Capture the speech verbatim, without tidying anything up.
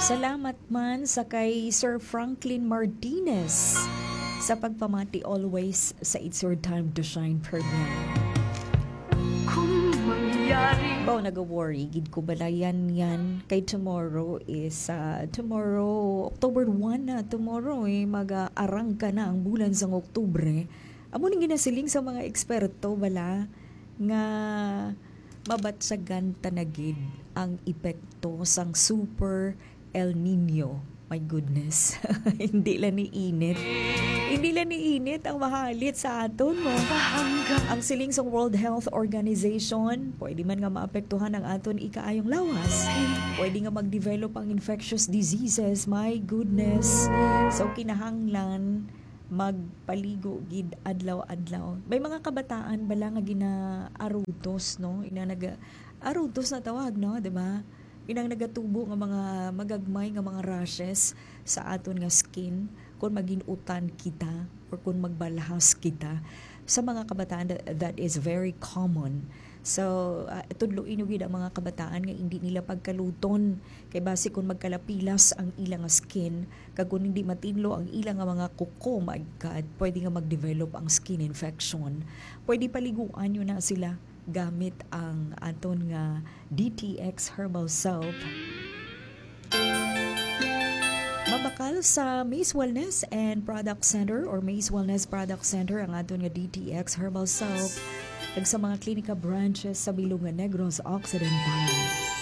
Salamat man sa kay Sir Franklin Martinez sa pagpamati always sa It's Your Time to Shine program. Kung mangyari. Baw, naga-worry gid ko bala yan, yan. Kay tomorrow is, ah, tomorrow, October one na. Tomorrow, eh, mag-arangka na ang bulan sang Oktubre. Amo ning ginasiling sa mga eksperto bala nga mabatyagan ta na gid ang epekto sang Super El Nino. My goodness. Hindi lang ni init. Hindi lang ni init ang mahalit sa aton, no? Ang siling sang World Health Organization, pwede man nga maapektuhan ang aton ikaayong lawas. Pwede nga mag-develop ang infectious diseases. My goodness. So, kinahanglan magpaligo gid adlaw-adlaw. May mga kabataan bala nga ginaarutos, no? Ina naga-, arutos na tawag, no? Di ba? Inang nagatubo nga mga magagmay nga mga rashes sa aton nga skin kung magin-utan kita or kung magbalhas kita. Sa mga kabataan, that, that is very common. So, ah, tudloin nyo gid ang mga kabataan nga hindi nila pagkaluton. Kay basi kung magkalapilas ang ila nga skin, kag kung hindi matinlo ang ila nga mga kuko, my God, pwede nga mag-develop ang skin infection. Pwede paliguan nyo na sila gamit ang aton nga D T X Herbal Soap. Mabakal sa Maze Wellness and Product Center or Maze Wellness Product Center ang aton nga D T X Herbal Soap, kag sa mga klinika branches sa bilog nga Negros Occidental.